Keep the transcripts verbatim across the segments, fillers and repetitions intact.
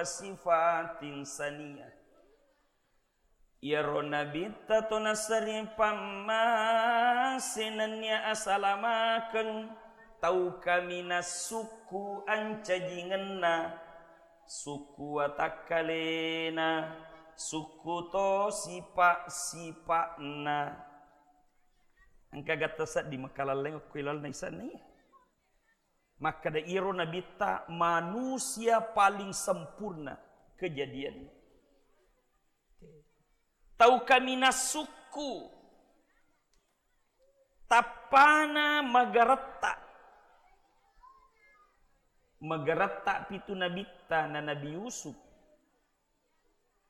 sifatin saniyah. Iyaro Nabitta to naseri pammase nennia asalamakeng tau kaminang sukku ancajingenna, sukku watakkalena, sukku to sipa-sipa'na. Engka gatta sedding makalalleng okko ilalna isanna iya. Makkeda iyaro Nabitta manusia paling sempurna kejadian. Tau kaminang sukku, tappana magaretta. Magaretta pitu nabitta na Nabi Yusuf.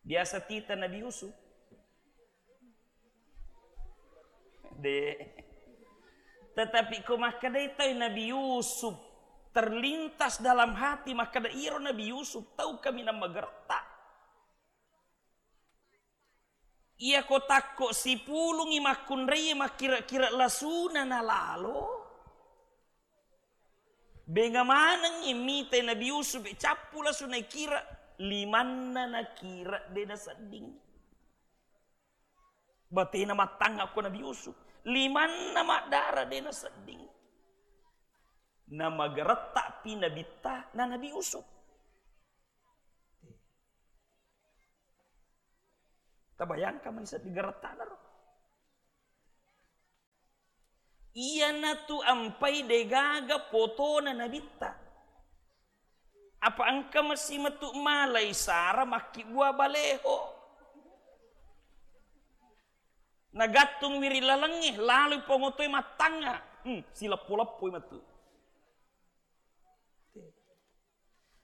Biasa tita Nabi Yusuf? De. Tetapi ko makkedai tau Nabi Yusuf, terlintas dalam hati makkeda iro Nabi Yusuf tau kaminang magaretta. Iya ko takko sipulungi makkunrai makkira-kira lasuna nalalo. Benga manengngi mitai Nabi Yusuf, cappu lasu naikira, limanna nakira de nasedding. Batena mattangnga ko Nabi Yusuf, limanna maddara de nasedding. Namagaretta pi nabitta na Nabi Yusuf. Tabayangkan mani seddi garettana ro. Iyanatu ampai degaga potona nabitta. Apa engka masi metu malai sara makkibbua baleho. Nagattung wiri lalengnge, laloi pongotoe mattangnga. Hmm, sileppo-leppoi metu.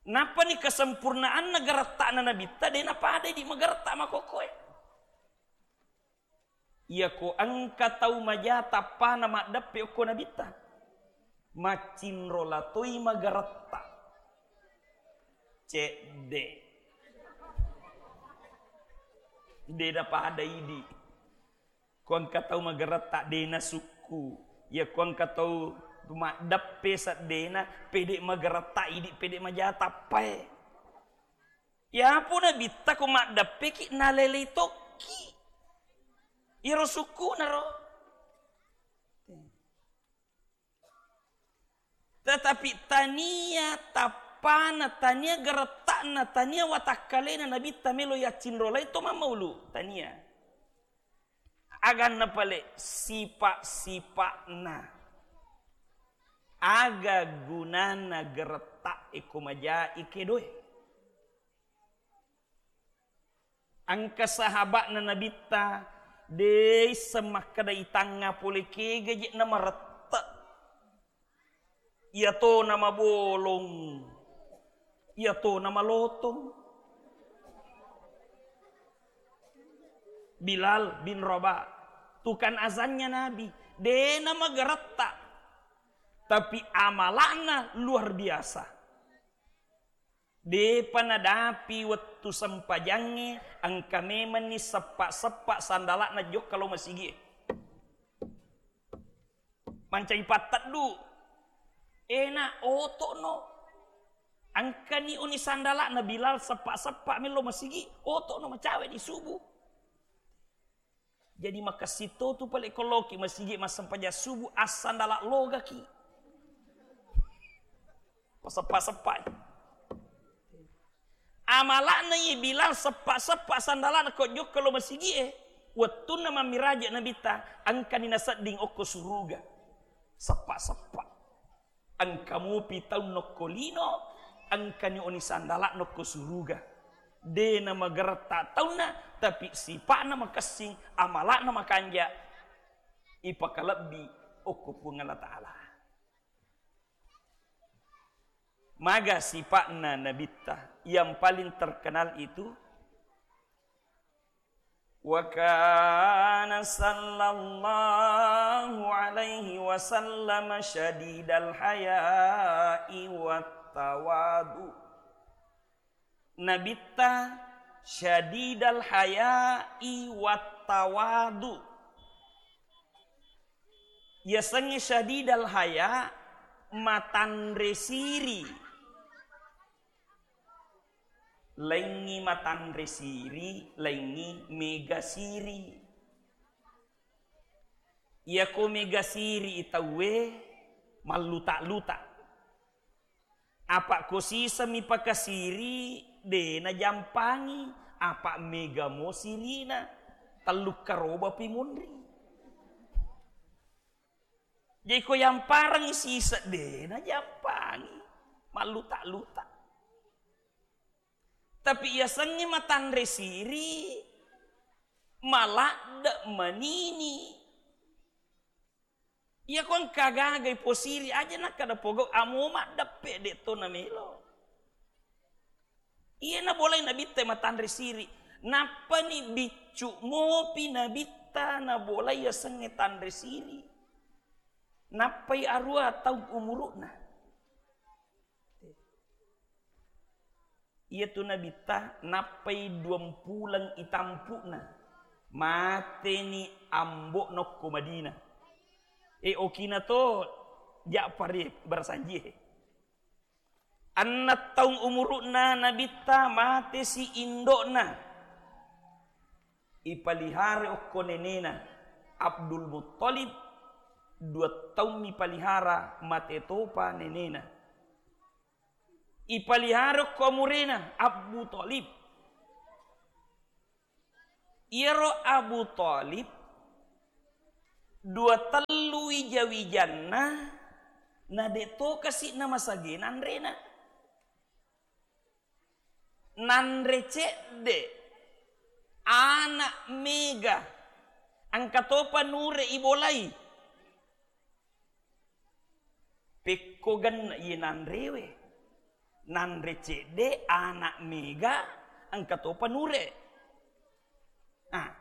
Nappani kesempurnaanna garetta'na nabitta, de napada idi magaretta makokkoe. Iyako engka tau maja tappana maddeppe okko nabitta, maccinrola toi magaretta. Cedde. De napada idi. Ko engka tau magaretta de nasukku. Iya ko engka tau maddeppe seddena, pede magaretta idi, pede maja tappae. Yapo nabitta ko maddeppeki nalelei tokki. Iyaro sukkuna ro. Tetapi tania tappana, tania garetta'na, tania watakkalena nabitta melo yaccinrolai to mammaulu. Tania. Aganna pale sipa-sipa'na. Aga gunana garetta'e ko majai kedoe? Engka sahaba'na nabitta, de isseng makkeda itangnga pole kega je namarette. Iyato namabolong, iyato namalotong. Bilal bin Rabah, tukang azannya Nabi, de namagaretta, tapi amala'na luar biasa. Depa nadapi wettu sempajangnge, engka memenni seppa-seppa sandala'na jokka lao masigi'e. Mancaji patteddu. Ena, oto'no. Engkani oni sandala'na Bilal seppa-seppa mello masigi, oto'no macawe di subuh. Jadi makessing to tu pale ko loki masigi massempajang subuh, assandala logaki. Paseppa-seppai. Amala'na i Bilal seppa-seppa sandala'na ko jokka lo masigi'e. Wettunna mammiraja Nabitta, engkani nasedding okko suruga. Seppa-seppa. Engka mupi taunna okko lino, engkani oni sandala'na okko suruga. De namagaretta taunna, tapi sipa'na makessing, amala'na makanja, ipakalebbi okko Puang Allah Ta'ala. Maga sipa'na Nabitta yang paling terkenal itu, wa kana sallallahu alaihi wasallam syadidal haya'i wat tawadu. Nabitta syadidal haya'i wat tawadu. Yasengnge syadidal haya, matanre siri. Laingngi matanre siri, laingngi mega siri. Iyako mega siri i tauwe malluta-luta. Apa ko siseng mi pakasiri, de najampangi, apa mega mo sirina, tellu karoba pi munri. Jadi ko yampareng siseng, de najampangi, malluta-luta. Tapi yasengnge matanre siri, maladde manini. Iyako engka gaga iposiri, aja nakkada pogau, amo maddeppe, de to namelo. Iya nabolai nabitta matanre siri. Nappani biccu mopi nabitta nabolai yasengnge tanre siri. Nappai arua taung umuru'na. Iyatu nabitta nappai duampuleng itampu'na. Mateni ambo'na okko Madinah. E, okina to Ja'far e, barasanjie. Enneng taung umuru'na nabitta, matesi indo'na. Ipalihara okko nenena Abdul Muttalib, dua taung mipalihara, mate topa nenena. Ipalihara okko amurena Abu Thalib. Iyaro Abu Thalib dua tellu wija-wijanna, na de to kasi'na masagena anrena. Nanre cedde, ana mega, engka topa nure ibolai. Pekko genne iye nanrewe. Nanre cedde, ana mega, engka topa nure. Ah,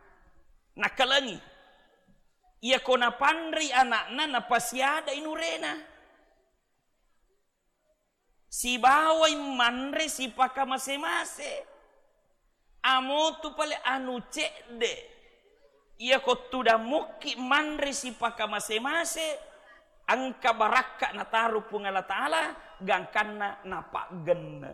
nakkalengi. Iyako napanrei anakna, napasiadai nurena. Sibawai manre sipakamase-mase. Amo tu pale anu cedde. Iyako tudang mukki manre sipakamase-mase, engka barakka nataro Puang Allah Ta'ala, gangkanna napaggenne.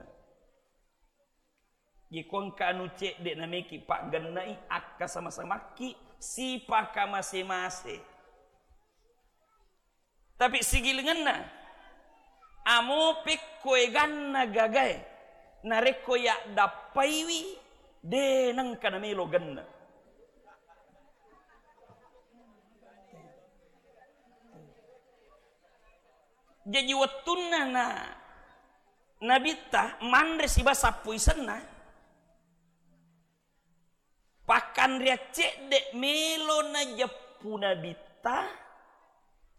Iyako engka anu cedde nameki paggennei, akka sama-samakki sipakamase-mase. Tapi sigilingenna, amo pekko eganna gagae, narekko yaddappaiwi, de nengka namelo genne. Jaji wettunna na Nabitta manre siba sappo isenna, Pakkanreang cedde melo najeppu Nabitta,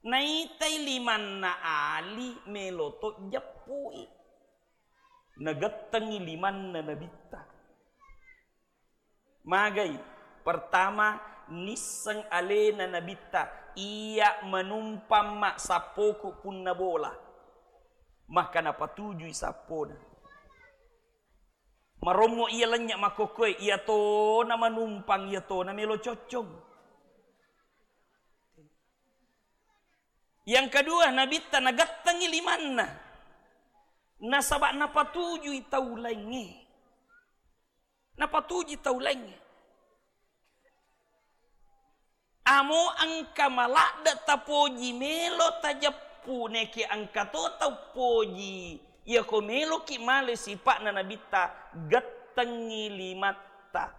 naitai limanna Ali melo to jeppui. Nagettengi limanna Nabitta. Magai, pertama, nisseng alena Nabitta, iya manumpang ma sappoku punna bola. Maka napatujui sappona. Marommo iya lennye makkokkoe, iya tona manumpang, iya tona melo coccong. Yang kedua, Nabitta nagettengi limanna. Nasaba napatujui tau laingnge. Napatujui tau laingnge. Amo engka maladde tapoji melo tajeppu, neke engka to tau poji. Iyako meloki male sipa'na Nabitta, gettengi limatta.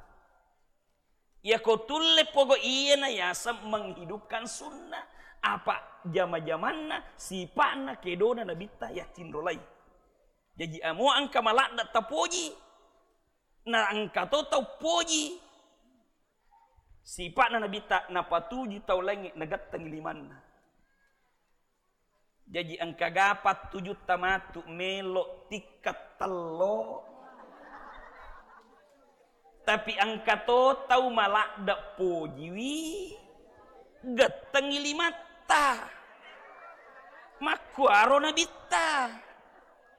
Iyako tulle pogo iyena yaseng menghidupkan sunnah. Apa jama-jamanna sipa'na kedona Nabitta yaccinrolai. Jaji amo engka maladde tapoji, na engka to tau poji. Sipa'na Nabitta napatuju tau laingnge nagettengi limanna. Jaji engka ga pattujutta matu melo tikka tello. Tapi engka to tau maladde pojiwi gettengi limatta. Makkuaro Nabitta.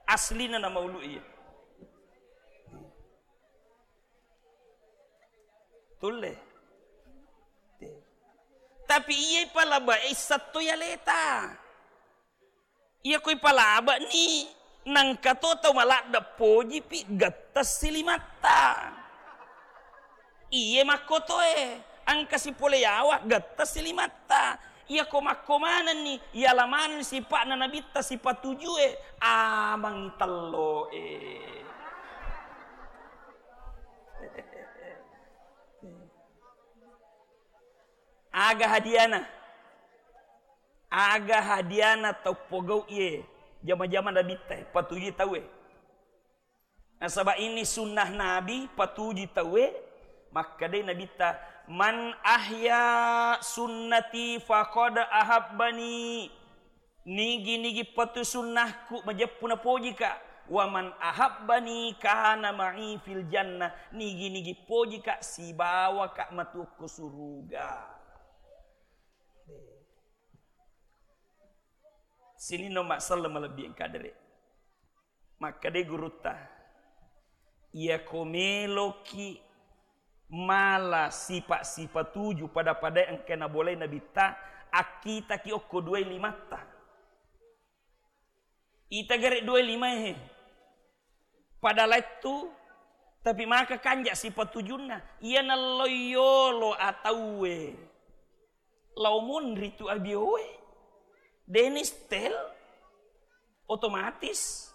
Aslina na maulu iya. Tulle. Tapi iya ipalaba issatto yaleta. Iya ko ipalaba ni Nangka to tau maladde pojipi getta silimatta. Iye makkotoe, engka sipole yawa getta silimatta. Iyako makko manenni, iyala maneng sipa'na nabitta sipatujue, amangi telloe. Aga hadiana? Aga hadiana tau pogau iye jama-jama nabitta, patujui tauwe. Nasaba ini sunnah Nabi, patuju tauwe, makkedai Nabitta, "Man ahya sunnati faqad ahabbani." Nigi-nigi patu sunnahku majeppu napojika. "Wa man ahabbani kana ma'i fil jannah." Nigi-nigi pojika sibawaka matuokko suruga. Sininna umma selleng malebbi engka dere. Makkedai gurutta, "Iyako meloki mala sipa-sipatuju pada-pada engka nabolai nabitta, akkitaki okko dua limatta." Ita gare dua lima he. Pada lettu, tapi maka kanja sipatujunna. Iya nallo yolo atauwe. Lao monri tu abioe. Deni setel. Otomatis.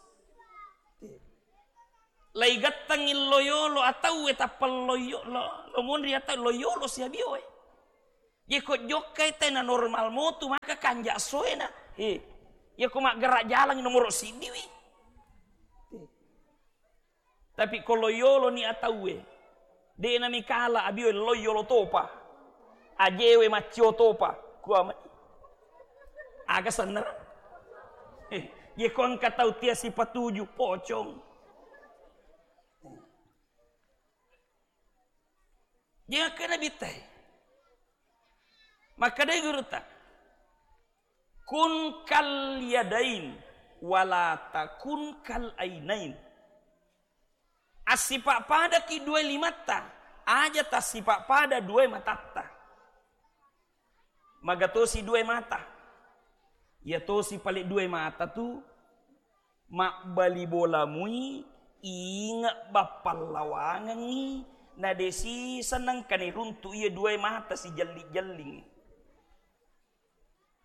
Lai gattang illo yolo atauwe tappa lo yo-, lo, lo monri atau lo yolo si abioe. Jeko jokkai tena normal motu maka kanja soena. He. Yako maggerak jalan nomoro siddiwi. He. Tapi ko lo yolo ni atauwe, de' nami kala abioe lo yolo topa. Ajewe maccio topa. Kuama. Aga sennera? Eh, ye ko engka tau tia sipatuju, pocong. Dia kena bitai. Makkedai gurutta, "Kun kal yadain, wala takun kal ainain." Assipa-padaki dua limatta, aja tassipa-pada dua matatta. Magatosi dua mata. Iya tosi pale dua mata tu, mabbali bola mui, inge bappallawangengngi, na desi seneng kane runtu iya dua mata sijelli-jelling.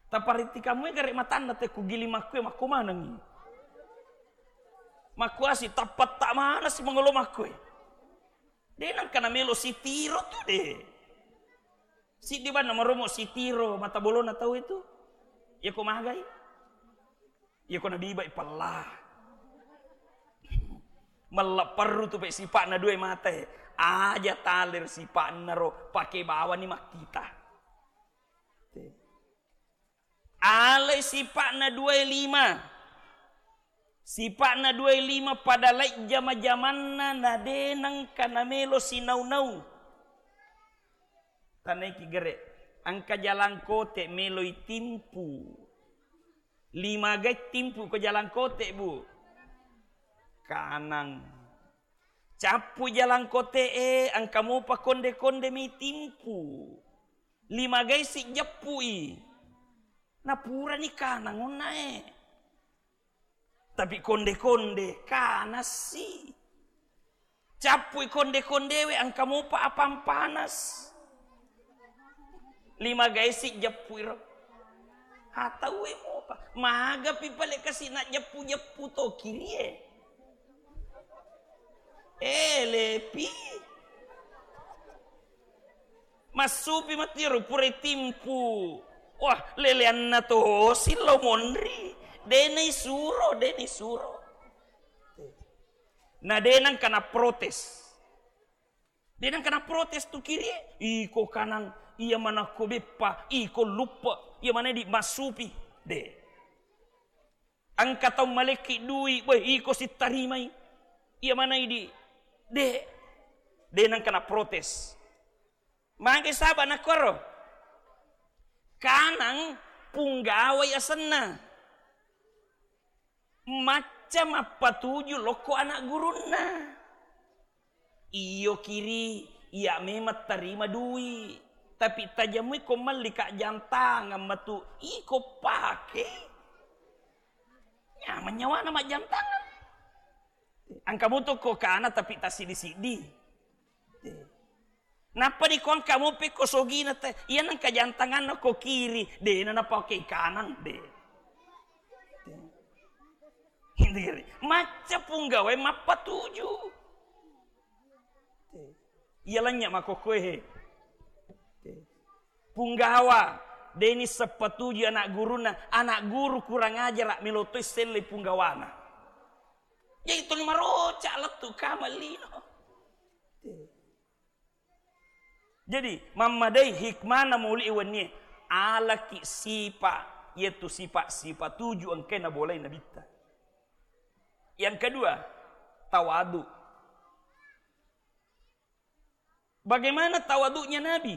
Tapariti kamu gare matanna te kugiling makkue makko manengngi. Makkuasi tappetta manasi mangolo makkue. De nangka namelo sitiro tu de. Siddi banna maromo sitiro mata bolona tau itu. Yako magai. Yako nabibai pella. Mella perru tu pe sipa'na dua mata e. Aja taler sipa'na ro pake bawani makkita. Alai sipa'na dua lima. Sipa'na dua lima pada lai jama-jamanna na de nangka namelo sinau-nau. Tanaiki gere, engka jalangkote meloi timpu. Lima gai timpu ko jalangkote, Bu. Kanang. Cappu jalangkote e, engka mopa konde-konde mi timpu. Lima gai si jeppui. Napurani kanang onnae. Tapi konde-konde kanassi. Cappui konde-kondewe engka mopa apang panas. Lima gai si jeppui ro. Ataue mopa. Magapi pale kasi na jeppu-jeppu to kirie. Eh, lepi. Massupi matiro purai timpu. Wah, leleanna to sillo monri. Dena isuro, dena isuro. Na dena engka na protes. Dena engka na protes tu kirie. Iko kanang, iya manakko beppa, iko luppe, iya mana di massupi. De. Engka tau malekki dui, weh, iko sittarimai. Iya mana idi? De. De nangka na protes. Mage saba nakkoro. Kanang punggawai asenna. Macca mappatuju lokko anak gurunna. Iyo kiri, iya memang tarima dui. Tapi tajamui ko melli ka jam tangan matu, iko pake. Nyaman nyawana majjam tangan. Engka mutu ko kana tapi tassiddi-siddi. Te. Nappa di ko engka mopi ko sogina te, iya nengka jantanganna ko kiri, de na napake kanang, de. Te. Hindiri. Macca punggawa mappatuju. Te. Iya lanya makokkoe he. Te. Punggawa, deni seppatuju anak guruna, anak guru kurang ajar, melo toi selle punggawana. Jadi tuli maroca lettu kamallino. Jadi, mammadai hikmana maulidi wennie, alaki sipa, yaitu sipa-sipa tuju engkae nabolai Nabitta. Yang kedua, tawadu. Bagaimana tawaduknya Nabi?